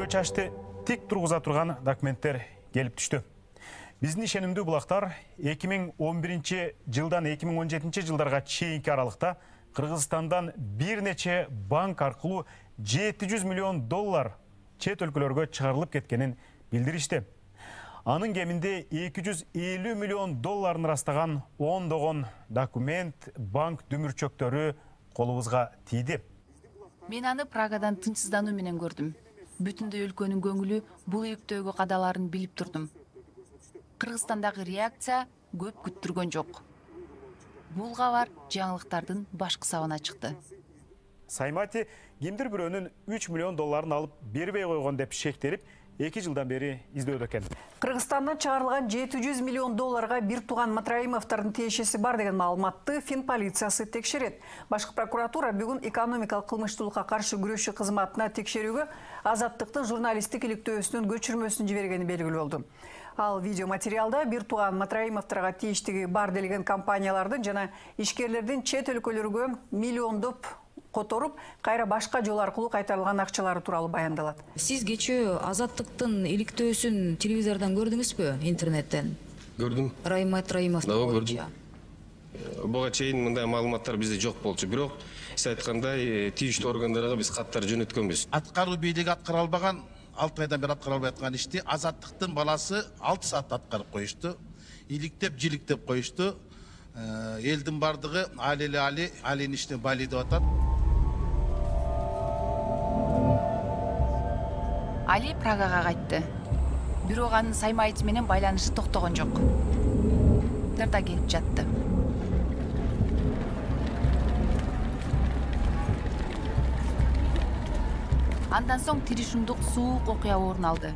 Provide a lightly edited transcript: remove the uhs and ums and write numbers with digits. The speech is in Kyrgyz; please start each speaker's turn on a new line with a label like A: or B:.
A: көз чачты тик тургуза турган документтер келип түштү. Биздин ишенимдүү булактар 2011 жылдан 2017 жылдарга чейинки аралыкта Кыргызстандан бир нече банк аркылуу 700 миллион доллар чет өлкөлөргө чыгарылып кеткенин билдиришти. Анын кеминде 250 миллион долларын ырастаган ондогон документ, банк дүмүрчөктөрү колубузга тийди.
B: Мен аны Прагадан тынчсыздануу менен көрдүм. Бүтүндөй өлкөнүн көңүлү бул ийгтөөгө кадаларын билип турдум. Кыргызстандагы реакция көп күттүргөн жок. Бул кабар жаңылыктардын башкы сабына чыкты.
A: Саймати кимдир бирөөнүн 3 миллион долларын алып бербей койгон деп шектелип, 2 жылдан бери издөөдө экен.
C: Кыргызстандан чыгарылган 700 миллион долларга бир тууган Матраимовдордун тиешеси бар деген маалыматты Фин полициясы текшерет. Башкы прокуратура бүгүн экономикалык кылмыштуулукка каршы күрөшүү кызматына текшерүүгө Азаттыктын журналисттик иликтөөсүнүн көчүрмөсүн жибергени белгилүү болду. Ал видеоматериалда бир тууган Матраимовдорго тийиштиги бар делген компаниялардын жана ишкерлердин чет өлкөлөргө миллиондоп которуп, кайра башка жол аркылуу кайтарылган акчалары тууралуу баяндалат.
D: Сиз кечээ Азаттыктын иликтөөсүн телевизордон көрдүңүзбү, интернеттен?
E: Көрдүм.
D: Раим Матраимов.
E: Көрдүм. Буга чейин мындай маалыматтар бизде жок болчу, бирок сиз айткандай тийиштүү органдарга биз каттар жөнөткөнбүз.
F: Аткаруу бийлиги аткара албаган, 6 айдан бери аткара албай аткан ишти Азаттыктын баласы 6 саатта аткарып коюшту. Иликтеп, жиликтеп коюшту. Элдин бардыгы Алинин ишине бали деп атат.
B: Али Прагага кайтты. Бирок анын Саймайт менен байланышы токтогон жок. Тарта келип жатты. Андан соң тиришундук суук окуя орун алды.